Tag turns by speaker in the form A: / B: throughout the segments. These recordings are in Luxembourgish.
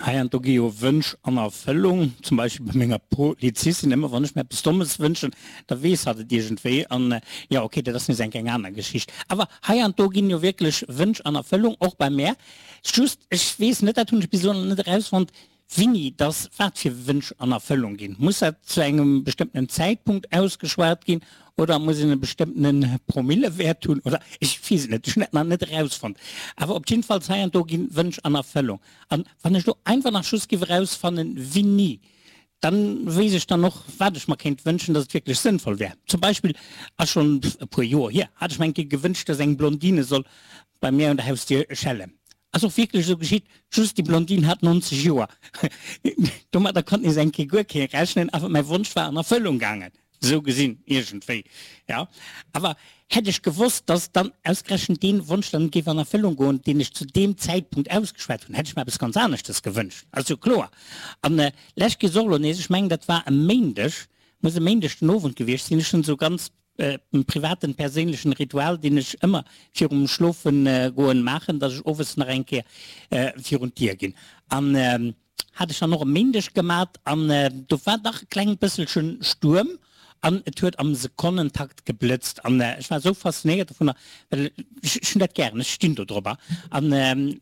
A: Heiansdo gi jo Wënsch an Erfëllung, zum Beispill bei menger Polizistin. Ëmmer wann ech mir eppes Dommes wënschen, da weess hatt et iergendwéi. An jo, ok, dat ass nees eng eng aner Geschicht. Awer heiansdo ginn jo wierklech Wënsch an Erfëllung, och bei mär. Just, ech weess net, dat hunn ech bis elo nach net erausfonnt, Winni dass wat fir Wënsch an Erfëllung ginn. Muss dat zu engem bestëmmtenen Zäitpunkt ausgeschwat ginn oder muss een e bestëmmtene Promillewäert hunn oder ech weess et net, ech hunn dat nach net erausfonnt. Awer op jiddefalls hei an do ginn Wënsch an Erfëllung. An wann ech do einfach nach just giff erausfannen winni, dann wéisst ech dann och wat ech mer kéint wënschen, dass et wierklech sënnvoll wär. Zum Beispill, ass schonn e puer Joer hier, hat ech mer eng Kéier gewënscht, dass eng Blondine soll bei mär un der Hausdier schellen. Ass och wierklech esou geschitt, just déi Blondine hat 90 Joer. Domadder konnt nees eng Kéier guer kee rechnen, awer mäi Wonsch war an Erfëllung gaangen, esou gesinn, iergendwéi, jo. Awer hätt ech gewosst, dass dann ausgerechent dee Wonsch dann géif an Erfëllung goen, deen ech zu deem Zäitpunkt ausgeschwat hunn, hätt ech mer eppes ganz aneschtes gewënscht, ass jo kloer. An lech gees och elo nees, ech mengen dat war e Méindeg, muss e Méindeg den Owend gewiescht sinn, ech hunn esou ganz E privaten, perséinlechen Ritual, deen ech ëmmer virum Schlofen goen maachen, dass ech owes nach eng Kéier virun d'Dier ginn. An hat ech dann och e Méindeg gemat an do war dach e kleng bësselchen Stuerm an et huet am Sekonnentakt geblëtzt an ech war esou faszinéiert dovunner, well ech hunn dat gären, ech stinn do drobber an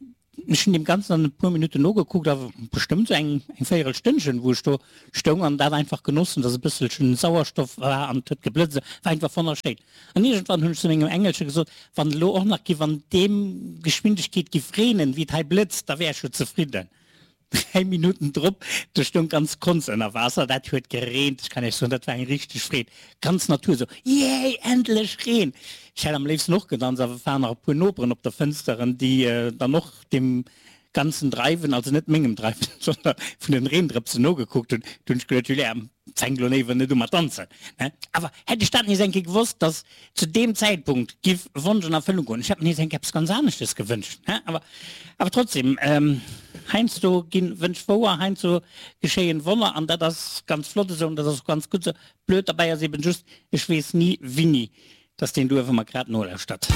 A: Ech hunn deem Ganzen dann e puer Minutten nogekuckt, a bestëmmt esou eng eng véierel Stënnchen, wou ech do stoung an dat einfach genoss hunn, dass e bësselchen Sauerstoff war an et huet geblëtzt. Et war einfach wonnerschéin. An iergendwann hunn ech zu mengem Engelche gesot, Wann et elo och nach giff an deem Geschwindegkeet giff reenen, wéi et hei blëtzt, da wär ech jo zefridden. 3 Minutten drop, do stoung ganz Konz ënner Waasser, dat huet gereent, ech kann Iech soen, dat war eng richteg Freed, ganz Natur esou, Yay, endlech Reen! Ech hätt am léifsten och gedanzt, awer et waren nach e puer Noperen op der Fënsteren, déi dann och deem ganzen Dreiwen, also net mengem Dreiwen, sondern vun den Reendrëpsen nogekuckt hunn. Du hunn ech geduet, Julia, fänk elo léiwer net u mat danzen, ne? Awer hätt ech dat nees eng Kéier gewosst, dass zu deem Zäitpunkt giff Wonsch an Erfëllung goen, ech hätt mer nees eng Kéier eppes ganz aneschtes gewënscht, ne? Awer, awer trotzdem, heiansdo ginn Wënsch wouer, heiansdo geschéien Wonner an dat ass ganz flott esou an dat ass och ganz gutt esou. Blöd derbäi ass eben just, ech weess ni winni dass deen Duerf ëmmer grad nolauschtert.